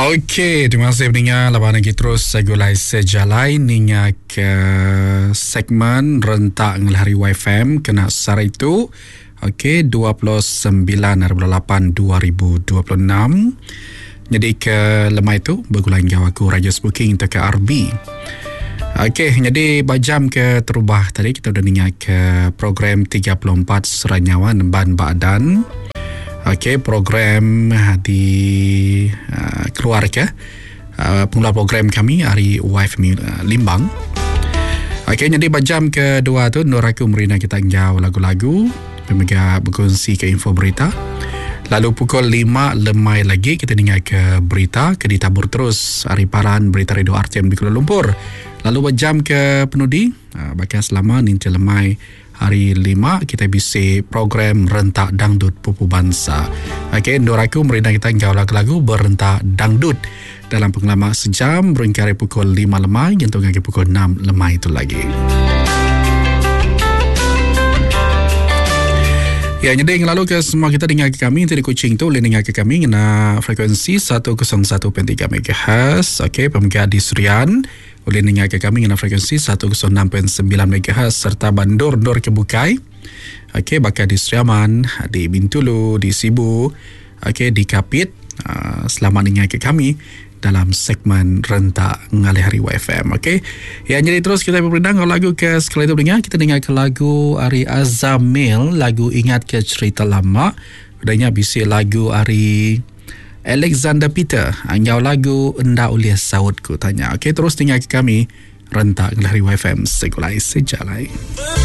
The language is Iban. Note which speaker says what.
Speaker 1: Okey, terima kasih peninga laban agi terus segulai sejalai ninga ke segmen rentak ngelahari YFM kena sehari tu. Okey, 29 hari bulan 8 2026. Jadi ke lemai tu begulai enggau aku Raja Booking ke RB. Okey, jadi ba jam ke terubah tadi kita udah ninga ke program 34 Seranyawa Nemban Badan. Okey, program di uh, keluar ke uh, pengeluar program kami hari Wife uh, Limbang. Okey, jadi ba jam kedua tu Nur aku merina kita enggau lagu-lagu mega berkongsi ke info berita. Lalu pukul 5 lemai lagi kita dengar ke berita ke ditabur terus hari paran berita radio RTM di Kuala Lumpur. Lalu ba jam ke penudi baka selama ninti lemai Hari Lima kitai bisi program Rentak Dangdut Pupu Bansa. Okey, endur aku merindang kita enggau lagu-lagu berentak dangdut dalam pengelama sejam berengkah ari pukul 5 lemai nyentuk ngagai pukul 6 lemai tu lagi. Ya, jadi ngelalu ke semua kita dengar ke kami di Kuching tu boleh dengar ke kami ngena frekuensi 101.3 MHz. Okey, pemega di Serian Ulih ninga ke kami ngena frekuensi 106.9 MHz serta ba endur-endur ke bukai. Okey baka di Sri Aman, di Bintulu, di Sibu, okey di Kapit. Uh, selamat ninga ke kami dalam segmen Rentak Ngalih Hari YFM. Okey. Ya jadi terus kita berperindang kalau lagu ke sekali tu dengar kita dengar ke lagu ari Azamil, lagu Ingat ke Cerita Lama. Udahnya bisi lagu ari Alexander Peter enggau lagu Enda Ulih Saut Ku Tanya. Okey terus tinggal ke kami rentak ngelari YFM Segulai Sejalai.